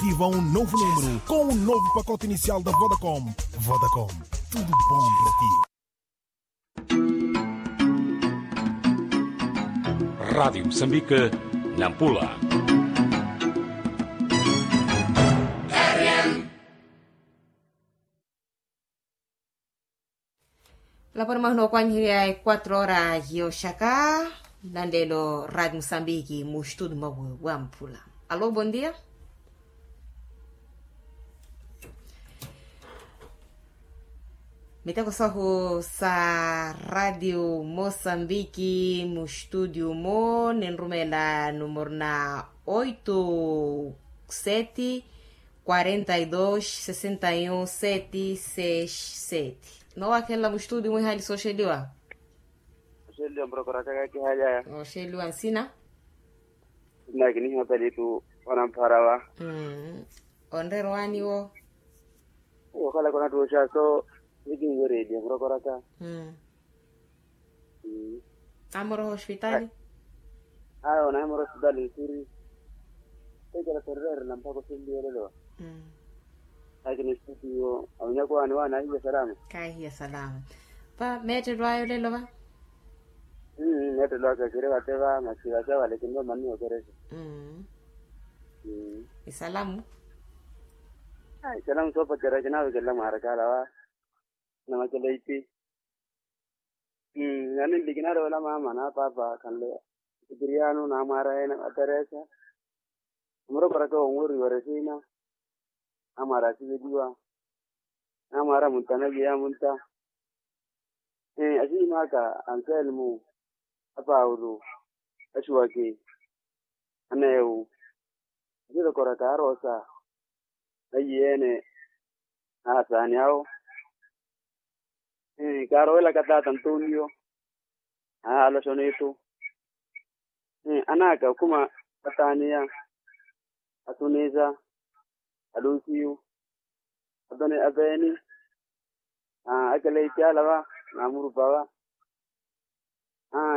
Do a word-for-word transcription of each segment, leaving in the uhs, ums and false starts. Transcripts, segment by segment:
Ativa um novo número com um novo pacote inicial da Vodacom. Vodacom, tudo bom pra ti. Rádio Moçambique, Nampula. Laponi mwahina okwanyiherya e quatro hora yoxaka. Nanlelo radio musambiki mu estudo mwawe wa mpula. Alo, bom dia. Miteko sahu sa radio musambiki mu estudo mo ninrumela numero na oito sete quarenta e dois sessenta e um sete seis sete. Nowakhelela mu estudo mwiihali sooxeliwa. Oxeliwa murokora kaka kihalyaya. Oxeliwa nsina. Nsina kinihiwa pelitu. Wana mpharawa. Onreera owaani wo. Okhala konattuxa so. Nikinwereliya murokoraka. Amoroha oxipitali. Ayo onahimora oxipitali nsiri. Ekela sorererela mpakha oxeliwa olelo. Akina estudio awinyaka owaani waana ahiya salama. Kaahiya salama. Va meettelo aya olelo va. Meettelo aka kiri vate va masi vate avale kinrowa manni okerexa. Isalamu. Isalamu soopacerya kinavekelela mwaarakaala va. Namakeleiti. Yaani nlikinaroowela maama na paapa khanle. Sipiriano namwaara ene ateresa. Amurokoraka wonweriwa resina. Namwaara asiveliwa. Namwaara munta naviyeya munta. Asihimaaka anselmo. Apaulu. Axiwaki. Aneewu. Asirokoraka arosa. Nayiyeene. Ahasaani awo. Kaarowelaka taata antonio. Ahaala oxonitu. Anaaka okhuma. Ataniya. Atunisa. Alusiyu. Apeeni. Akeleiti ala va. Namurupa va.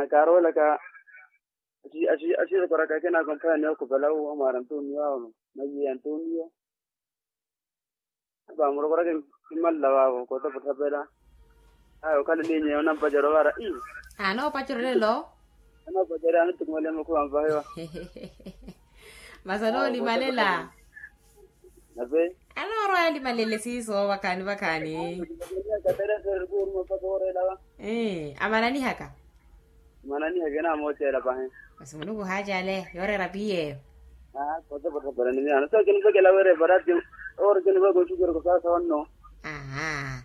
Kaarowelaka. Asirokoraka akina akomphaya ni okhupela uwo amwaara antonio awo. Nayiye antonio. Apa murokoraka. Kimalla vaavo kotopotthapela. Aya okhala elinya yonampacerya ovara. Anoopacera olelo. Anoopacera anittumwele mukhuwa mpahiwa. Masi anoolimalela. Nape. Anoorwa yalimalele siiso vakhaani vakhaani. Katerese rikuuruma mpaka orela va. Amananihaka. Manani akina amooceela pahi. Masi muluku ohaacale yooreera piyeyo. Aa kotopotopela ni miyaano so kinivekela weerepa ratio. Oore kiniveka oxukereko sawasawa nno. Aha.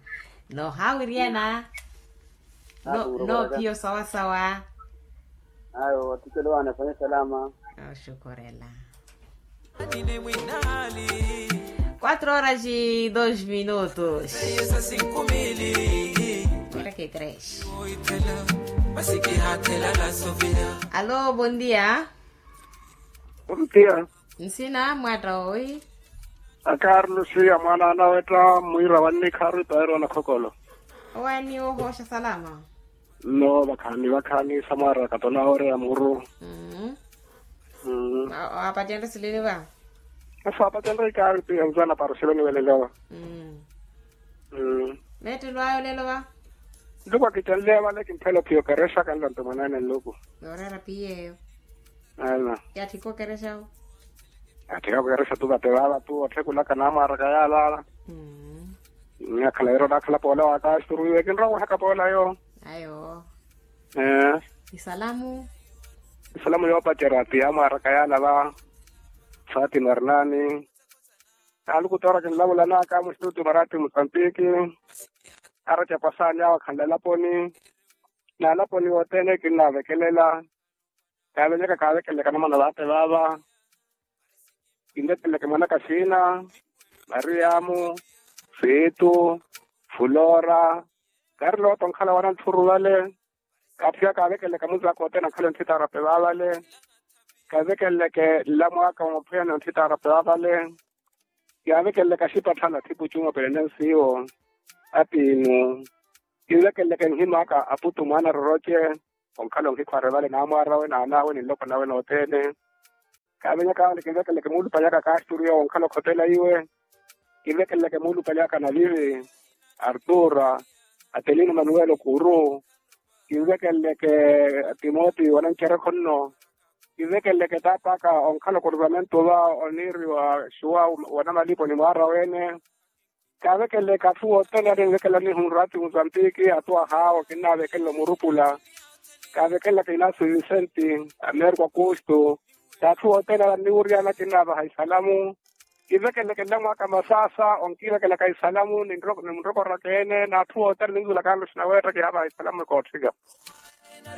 Noohaawiryana. Noopiya osawasawa. Ayo attikelo wane afanye salama. Oxukurela. Quatro horas e dois minutos. Quarenta e três. Alô, bom dia. Bom dia. Nsina mwatta owi? A carlos ya mwana anawetta mwira wannikharu ipaero anakhokolo. Owani ohosha salama. Nno vakhaani vakhaani samwaraka tonawooreya muru. Mmm. Mmm. Waapacenrye silini va? Asa waapacenrye ikaavi piya nzana para oxiveniwa elelo. Mmm. Mmm. Meettelo aya olelo va? Nluku akicenleya vale kimphela ophiya okerexa kanlanto mwanene nluku. Yooreera piyeyo. Ana. Yatthika okerexa wo? Yatthika okerexa tu vate vava tu otthikulaka namwaraka yalala. Mmm. Nakhala wira onakhala poola waka asturuwiwe kinrowa wihaka poola yo. Ayo. Ee. Isalamu. Isalamu yoopacerya ati yamwaraka yalava. Fatima arnani. Aluku toora kinlavulanaka mustutu marati musantiki. Araca pasaani awo akhanla elaponi. N'alaponi othene kinnavekelela. Kaavenyaka kaavekelelaka namana vate vava. Kinvekelelaka mwanaka sina, mariamu, fitu, fulora. Kaari looto nkhala wana nthuru vale. Kaatthiya kaavekelelaka munzaka othene ankhala onthitarape vavale. Kaavekelelaka nlamwaka wa maphuya ni onthitarape vavale. Kaavekelelaka xipatthana thipu cuma pelene nsiwo. Atiinu. Kinvekelelaka nhimaka aputu mwana roroce. Onkhala onkikhware vale namwarawe n'anawe ni nloko nawe nothene. Kaavenyaka ale kinvekeleke muulupale aka kaasturiya onkhala okhotela iwe. Kinvekeleke muulupale aka navivi, artura, atelino manuwelo kuru. Kinvekeleke, timoti wanancherekho nno. Kinvekeleke taat'aka onkhala okuruvamentu va oniiriwa xuwa, wanamalipo ni mwaara wene. Kaavekeleke athu othene alinvekela nihu nrati muzambiki athu ahaawo kinnaavekelela omurupula. Kaavekelelaka inasu visenti, ameriko akustu. T'athu othene alinniwuryana kinnaavaha isalamu. Kivekeleke nlamwaka masasa onkivekelaka isalamu ni munrokoraka ene n'athu othene ninzulaka nluxi naweetta kihaavaha isalamu ekootthika.